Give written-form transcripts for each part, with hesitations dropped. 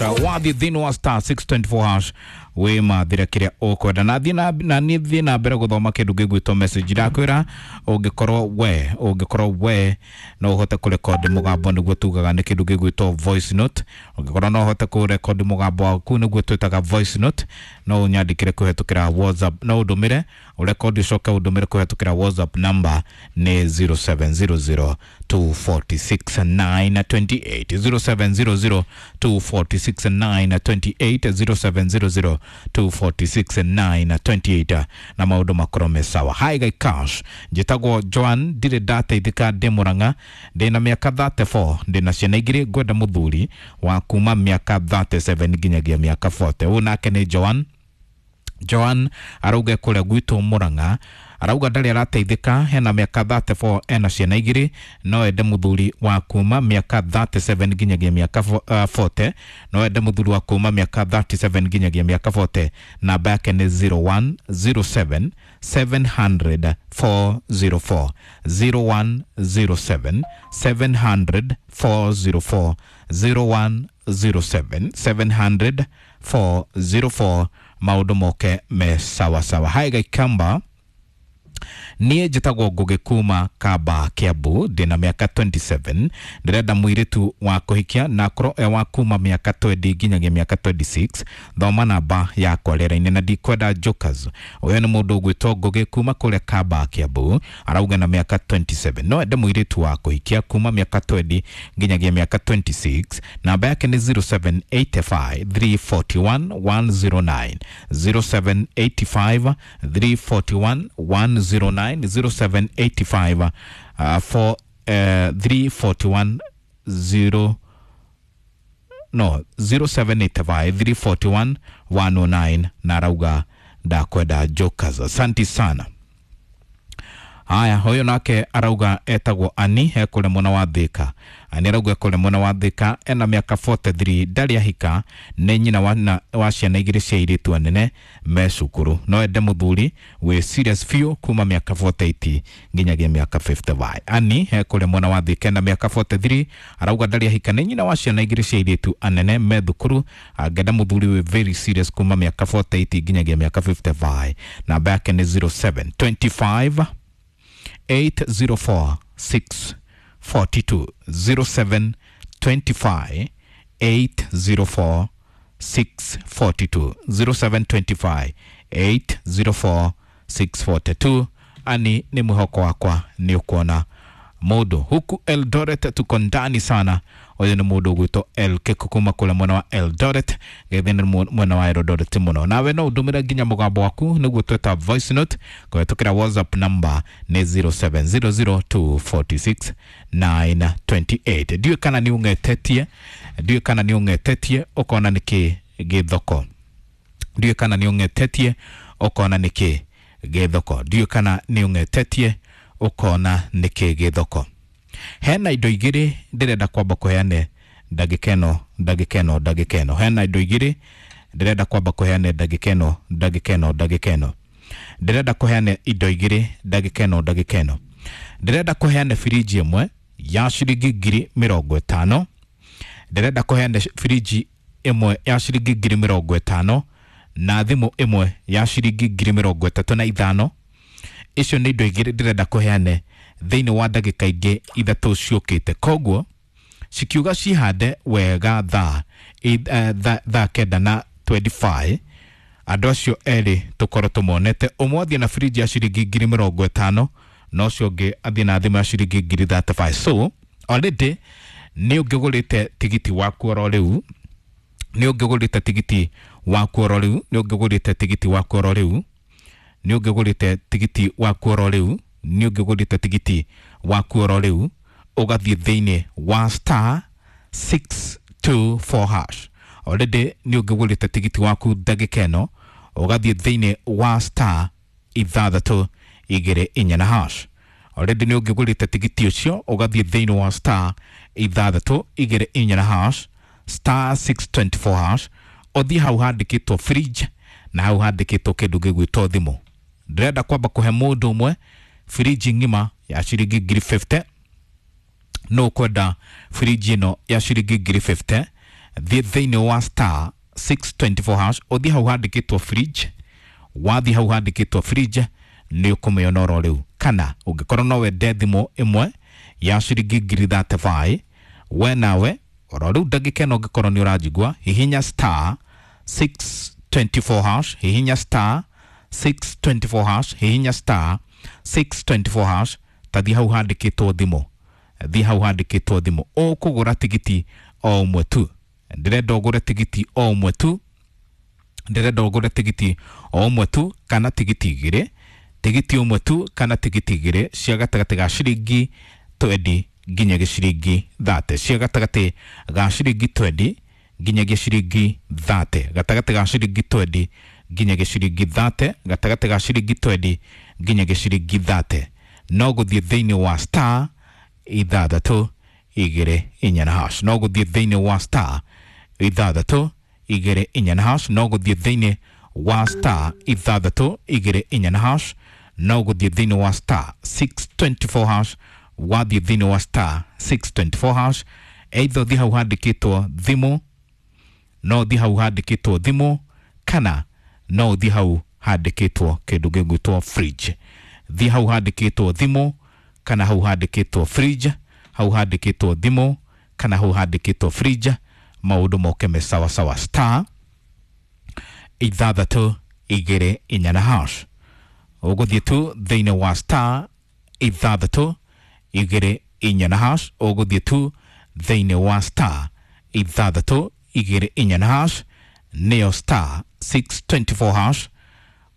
Wathi thĩinĩ wa star 624 hash wĩmathĩre kĩrĩa ũkwenda na thiĩ na niĩ thiĩ na mbere gũthoma kĩndũ gĩgwĩtwo message. Ndakwĩra ũngĩkorwo we no ũhote kũrekondi mũgambo, nĩguo tugaga nĩ kĩndũ gĩgwĩtwo voice note. Ũngĩkorwo no ũhote kũrekondi mũgambo waku, nĩguo twĩtaga voice note, no ũnyandĩkĩre kũhetũkĩra WhatsApp, no ũndũmĩre ũrekondi ũcoke ũndũmĩre kũhetũkĩra WhatsApp. Number nĩ 0700 246 928, 0700 246 928, 0700 246 928, na maũndũ makorwo me sawa. Hi Guy Cash, njĩtagwo Joan, ndirĩ ndateithĩka, ndĩ Mũrang'a, ndĩna mĩaka 34, ndĩna ciana 2, ngwenda mũthuri wa kuma mĩaka 37 nginyagia mĩaka 40. Ũyũ nake nĩ Joan. Joan arauga kũrĩa gwitũ Mũrang'a, arauga ndarĩ arateithĩka, hena mĩaka 34, ena ciana 2, no ende mũthuri wa kuma mĩaka 37 nginyagia mĩaka 40, no ende mũthuri wa kuma mĩaka 37 nginyagia mĩaka 40. Namba yake nĩ 0107 700 404, 0107 700 404, 0107 700 404, maũndũ moke me sawa sawa. Hai Gaikamba, niĩ njĩtagwo Ngũgĩ kuma Kamba, Kiambu, ndĩna mĩaka 27, ndĩrenda mũirĩtu wa kũhikia na akorwo e wa kuma mĩaka 20 nginyagia mĩaka 26. Thoma namba yakwa rĩera-inĩ na ndikwenda jokers. Ũyũ nĩ mũndũ ũgwĩtwo Ngũgĩ kuma kũrĩa Kamba, Kiambu, arauga na mĩaka 27 no ende mũirĩtu wa kũhikia kuma mĩaka 20 nginyagia mĩaka 26. Namba yake nĩ 0785 341 109, 0785 341 109, 0785 4 341 0, no, 0785 341 109, na arauga ndakwenda jokers. Asanti sana. Haya, huyu nake arauga etagwo Ani, ekũrĩ mwena wa Thika. Ani arauga ekũrĩ mwena wa Thika, ena mĩaka 43, ndarĩ ahika, nĩ nyina wa ciana 2 cia airĩtu anene me cukuru, no ende mũthuri wĩ serious biũ kuma mĩaka 48 nginyagia mĩaka 55. Ani ekũrĩ mwena wa Thika, ena mĩaka 43, arauga ndarĩ ahika, nĩ nyina wa ciana 2 cia airĩtu anene me thukuru, angĩenda mũthuri wĩ very serious kuma mĩaka 48 nginyagia mĩaka 55. Namba yake nĩ 0725 804 642, 07 25 804 642, 0725 804 642. Ani, nĩ mwĩhoko wakwa nĩ ũkuona mũndũ huku Eldoret, tuko ndani sana. Ũyũ nĩ mũndũ ũgwĩtwo El Keko kuma kũrĩa mwena wa Eldoret, gĩthĩ nĩ mwena wa Eldoret mũno. Nawe no ũndũmĩre nginya mũgambo waku, nĩguo tweta voice note, kũhetũkĩra WhatsApp. Number nĩ 0700 246 928. Ndiũĩ kana nĩ ũng'etetie, ndiũĩ kana nĩ ũng'etetie ũkona nĩkĩ gĩ thoko, ndiũĩ kana nĩ ũng'etetie ũkona nĩkĩ gĩ thoko, ndiũĩ kana nĩ ũng'etetie ũkona nĩkĩ gĩ thoko. Hena indo 2 ndĩrenda kwamba kũheane ndagĩka ĩno, ndagĩka ĩno, ndagĩka ĩno. Hena indo 2 ndĩrenda kwamba kũheane ndagĩka ĩno, ndagĩka ĩno, ndagĩka ĩno. Ndĩrenda kũheane indo 2 ndagĩka ĩno, ndagĩka ĩno. Ndĩrenda kũheane firiji 1 ya ciringi 50,000, ndĩrenda kũheane firiji 1 ya ciringi 50,000 na thimũ 1 ya ciringi 35,000. Icio nĩ indo 2 ndĩrenda kũheane thĩinĩ wa ndagĩka ingĩ 3 ciũkĩte. Koguo cikiuga cihande wega thaa 9:25, andũ acio erĩ tũkorwo tũmonete, ũmwe athiĩ na firiji ya ciringi 50,000 na ũcio ũngĩ athiĩ na thimũ ya ciringi 35,000. So already nĩ ũngĩgũrĩte tigiti waku oro rĩu, nĩ ũngĩgũrĩte tigiti waku oro rĩu, nĩ ũngĩgũrĩte tigiti waku oro rĩu, nĩ ũngĩgũrĩte tigiti waku oro rĩu, nĩ ũngĩgũrĩte tigiti waku oro rĩu, ũgathiĩ thĩinĩ wa star 624 hash. Already nĩ ũngĩgũrĩte tigiti waku ndagĩka ĩno, ũgathiĩ thĩinĩ wa star 624 na hash. Already nĩ ũngĩgũrĩte tigiti ũcio, ũgathiĩ thĩinĩ wa star 624 na hash, star 624 hash, ũthiĩ hau handĩkĩtwo fridge na hau handĩkĩtwo kĩndũ gĩgwĩtwo thimũ. Ndĩrenda kwamba kũhe mũndũ ũmwe firiji ng'ima ya ciringi 50,000. No ũkwenda firiji ĩno ya ciringi 50,000 Thiĩ thĩinĩ wa star 624 hash, ũthiĩ hau handĩkĩtwo fridge. Wathiĩ hau handĩkĩtwo fridge nĩ ũkũmĩona oro rĩu. Kana ũngĩkorwo no wende thimũ ĩmwe ya ciringi ngiri 35, we nawe oro rĩu ndagĩka ĩno ũngĩkorwo nĩ ũranjigua, hihinya star 624 hash, hihinya star 624 hash, hihinya star 624 hash. Tathiĩ hau handĩkĩtwo thimũ, thiĩ hau handĩkĩtwo thimũ, ũkũgũra tigiti o ũmwe tu. Ndĩrenda ũgũre tigiti o ũmwe tu, ndĩrenda ũgũre tigiti o ũmwe tu kana tigiti igĩrĩ, tigiti ũmwe tu kana tigiti igĩrĩ cia gatagatĩ ga ciringi 20 nginyagia ciringi 30, cia gatagatĩ ga ciringi 20 nginyagia ciringi 30, gatagatĩ ga ciringi 20 nginyagia ciringi 30, gatagatĩ ga ciringi 20 nginyagia ciringi 30. No gũthiĩ thĩinĩ wa star 624 na hash, no gũthiĩ thĩinĩ wa star 624 na hash, no gũthiĩ thĩinĩ wa star 624 na hash, no gũthiĩ thĩinĩ wa star 624 hash. Wathiĩ thĩinĩ wa star 624 hash, either ũthiĩ hau handĩkĩtwo thimũ, no ũthiĩ hau handĩkĩtwo thimũ, kana no ũthiĩ hau handĩkĩtwo kĩndũ gĩgwĩtwo fridge. Thiĩ hau handĩkĩtwo thimũ kana hau handĩkĩtwo fridge, hau handĩkĩtwo thimũ kana hau handĩkĩtwo fridge, maũndũ moke me sawa sawa. Star 624 na hash, ũgũthiĩ tu thĩinĩ wa star 624 na hash, ũgũthiĩ tu thĩinĩ wa star 624 na hash, nĩyo star 624 hash.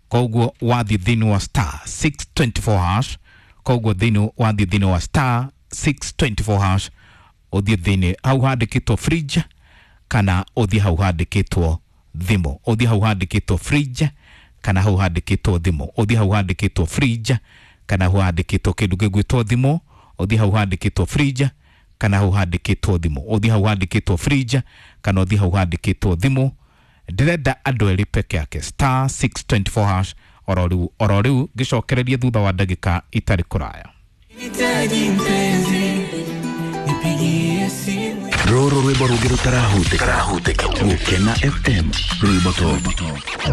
Koguo wathiĩ thĩinĩ wa star 624 hash, koguo thĩinĩ wathiĩ thĩinĩ wa star 624 hash, ũthiĩ thĩinĩ hau handĩkĩtwo fridge kana ũthiĩ hau handĩkĩtwo thimũ, ũthiĩ hau handĩkĩtwo fridge kana hau handĩkĩtwo thimũ, ũthiĩ hau handĩkĩtwo fridge kana hau handĩkĩtwo kĩndũ gĩgwĩtwo thimũ, ũthiĩ hau handĩkĩtwo fridge kana hau handĩkĩtwo thimũ, ũthiĩ hau handĩkĩtwo fridge kana ũthiĩ hau handĩkĩtwo thimũ. Ndĩrenda andũ erĩ peke yake, star 624 hash, oro rĩu oro rĩu, ngĩcokererie thutha wa ndagĩka itarĩ kũraya. Nahitaji mpenzi, nipigie simu. Rũrũ rwĩmbo rũngĩ rũtarahutĩka. Gũkena FM, rwĩmbo top.